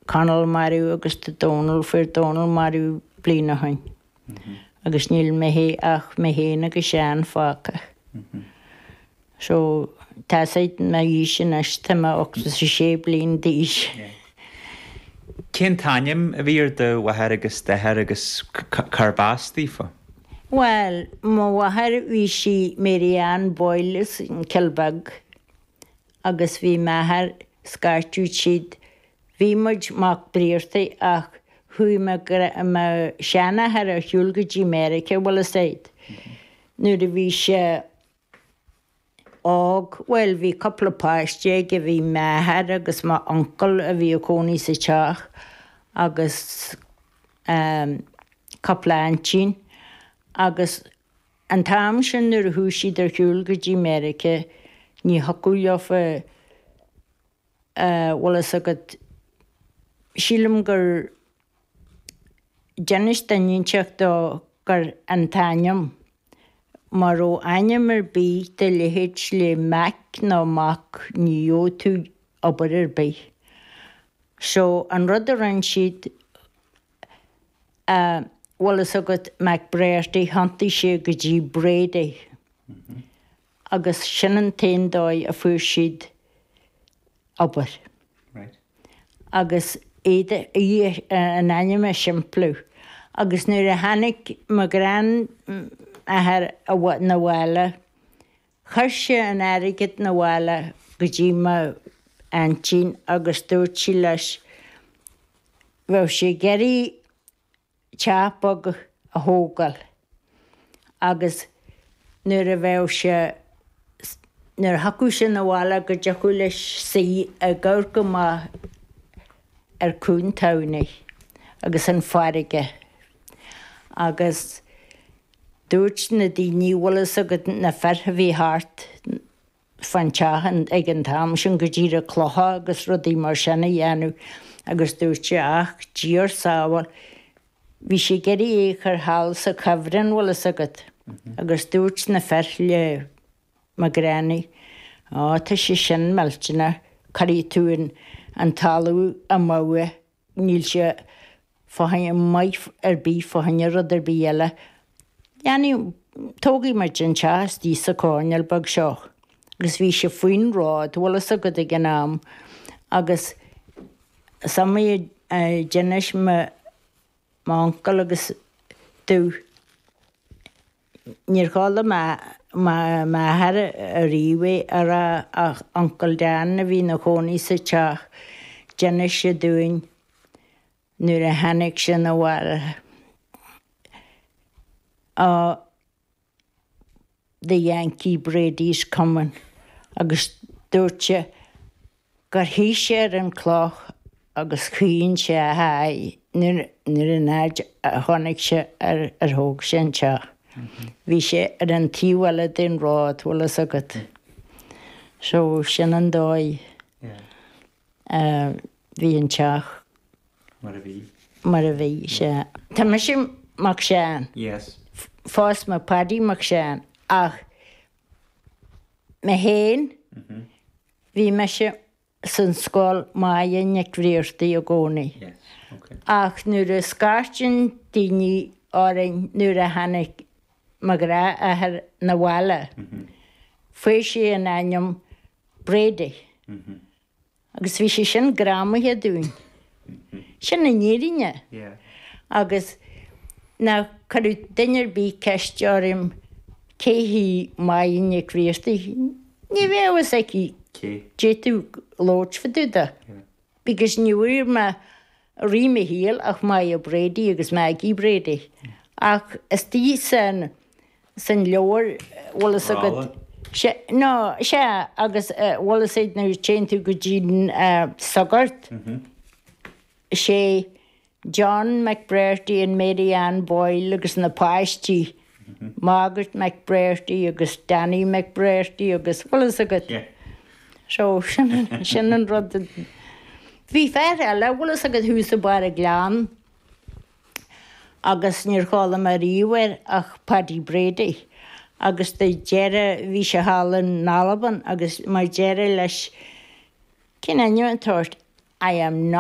Conall marbh agus tá Dónal, fuair Dónal marbh bliain ó shoin. Agus níl mé fé ach mé féin agus Seán fágtha. So, tá a fhios agat m'aois anois, tá mé 86 bliain d'aois. Cén t-ainm a bhí ar do mháthair agus d'athair agus cárb as daofa? Bhuel, mo mháthair bhí sí Mary Ann Boyle as an Cill Beag agus bhí m'athair, scairteadh siad, bhí muid Mac Briartaigh ach chuaigh mo, mo sheanathair ar shiúl go dtí Meiriceá, bhfuil fhios agat, nuair a bhí sé óg, bhuel bhí cúpla páiste aige, bhí m'athair agus m'uncail a bhí ag cónaí sa teach agus ehm cúpla aintín agus An t-am sin nuair a chuaigh siad ar shiúl go dtí Meiriceá ní thiocfadh leofa eh bhfuil fhios agat, sílim gur d'inis duine inteacht dó gur an t-ainm, má raibh ainm ar bith de leithéid le Mac nó Mac ní gheobhadh tú obair ar bith. So an rud a rinne siad eh bhfuil fhios agat McBrearty, thiontaigh sé go dtí Brady agus sin an t-aon dóigh a fuair siad obair. Agus iad, an ainm a shimpliú. Agus nuair a tháinig mo ghrandathair 'na bhaile, chuir sé an airgead 'na bhaile go dtí mo aintín agus dúirt sí leis, bheadh sé ag iarraidh teach beag a thógáil agus nuair a bheadh sé, nuair a thiocfadh sé 'na bhaile go dtiocfadh leis suí ag amharc amach ar Cuan Tamhnaigh agus an farraige agus dúirt na daoine, bhfuil fhios agat na fir a bhí thart, fán teach ag an t-am sin go díreach clocha agus rudaí mar sin a dhéanamh agus dúirt sé ach Dia ár sábháil, bhí sé ag iarraidh é a chur thall sa chuibhreann bhfuil fhios agat agus dúirt na fir le mo ghranny á tá sé sin millteanach, cuirfidh tú an talamh amú é. Níl sé fá choinne maith ar bith fá choinne rud ar bith eile. Dhéanfaidh, tógfaidh muid an teach istigh sa choirnéal beag seo. Agus bhí sé faoin ród, bhfuil fhios agat ag an am. Agus is iomaí a d'inis mo, m'uncail agus domh, Níor chuala m'athair ariamh é a rá ach Uncail Dan a bhí ina chónaí sa teach, d'inis sé dúinn nuair a tháinig sé 'na bhaile. Á, the Yankee Brady's coming agus dúirt sé gur shuigh sé ar an chloch agus chaoin sé a aghaidh nuair an fhaid a chonaic sé ar ar thóg sé an teach. Bhí sé ar an taobh eile den ród, bhfuil fhios agat. So sin an dóigh a bhí an teach. Mar a bhí. Mar a bhí, sea. Tá mise Mac Seáin. Yes. Phós mé Paddy Mac Seáin ach mé féin, Bhí mise san scoil Máire Nic Bhriartaigh i gcónaí. Ach nuair a scairteann daoine orainn nuair a tháinig mo ghnáthathair 'na bhaile, fuair sé an ainm Brady. Agus bhí sé sin greamaithe dúinn. Sin an fhírinne. Agus ná cuireadh duine ar bith ceist orm cé hí Máire Nic Bhriartaigh, ní bheadh a fhios aici d'fhéadfadh labhairt fá dtaobh de. Because ní bhfuair mé i rith mo shaoil ach Máire Brady agus Maggie Brady. Ach istigh san san leabhar, bhfuil fhios agat, sea, no, sea, agus bhfuil fhios agat nuair a téann tú go dtí an sagart, sé John McBrearty and Mary Ann Boyle agus na páistí, Margaret McBrearty agus Danny McBrearty agus, bhfuil fhios agat? So, sin, sin an rud. Bhí fear eile, bhfuil fhios agat, thuas i mbarr an Ghleann agus níor chuala mé riamh air ach Paddy Brady agus do deireadh, bhí sé thall in Albain agus mar deireadh leis, cén ainm atá ort? I am not.